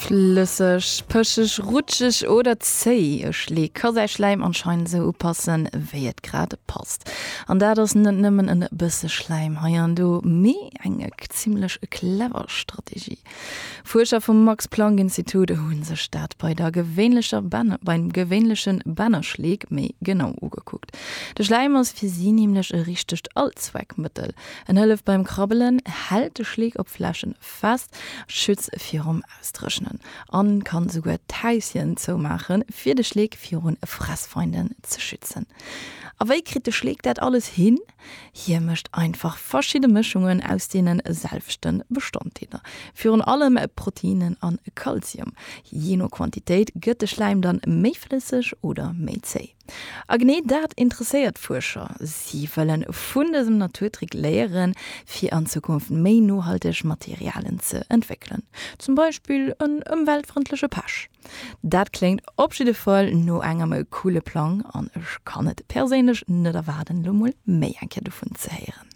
Flësseg, pëscheg, rutscheg oder zéi, e Schleek ka säi Schläim anscheinend esou upassen, wéi et grad passt. An dat ass net nëmmen en bësse Schläim hei an do, mee eng zimmlech clever Strategie. Fuerscher vum Max-Planck-Institut hu sech dat bei der gewéinlecher beim gewéinleche Bännerschleek méi genau ugekuckt. De Schläim ass fir si nämlech e richtegt Allzweckmëttel. En hëlleft beim Krabbelen, hält de Schleek op Flächen fest, schützt virum Ausdréchnen an kann souguer d'Häuschen zoumaachen, fir de Schleek virun Fressfeinden ze schützen. A wéi kritt de Schleek dat alles hin? Hie mécht einfach verschidde Mëschungen aus deene selwechte Bestanddeeler, virun allem Proteinnen an Kalzium. Jee no Quantitéit gëtt de Schläim dann méi flësseg oder méi zéi. A genee dat interesséiert d'Fuerscher. Si wëllen vun dësem Naturtrick léieren, fir an Zukunft méi nohalteg Materialen ze entwéckelen. Zum Beispill en ëmweltfrëndleche Pech. Dat kléngt op jidde Fall no engem coole Plang an ech kann et perséinlech net erwaarden, elo mol méi eng Kéier dovun ze héieren.